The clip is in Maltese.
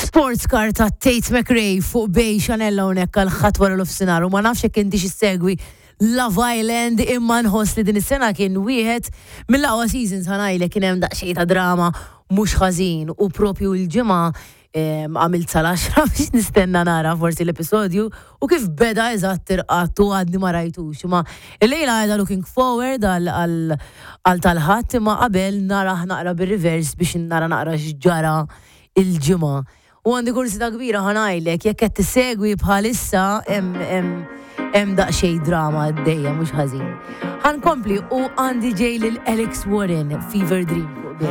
Sports car ta' Tate McRae fuq Bay Chanel hawnhekk għal ħadd wara l-ofsinhar u ma nafx jekk intix issegwi Love Island imma nħoss li din is-sena kien wieħed mill-aqwa seasons ħa ngħidlek kien hemm daqsxejn ta' drama mhux ħażin u propju l-ġimgħa għamilt sal-10 biex nistenna nara forsi l-episodju u kif beda eżatt irqadt u għadni ma rajtux. Imma illejla għedha looking forward għal tal-Ħadd imma qabel narah naqra bir-reverse biex nara naqra x'ġara il-ġimgħa. U għandi kursità kbira ħa ngħidlek, jekk qed tissegwi bħalissa hemm daqsxejn drama għaddejja mhux ħażin. Ħa nkompli u għandi ġej lil Alex Warren, Fever Dream fuq Bay.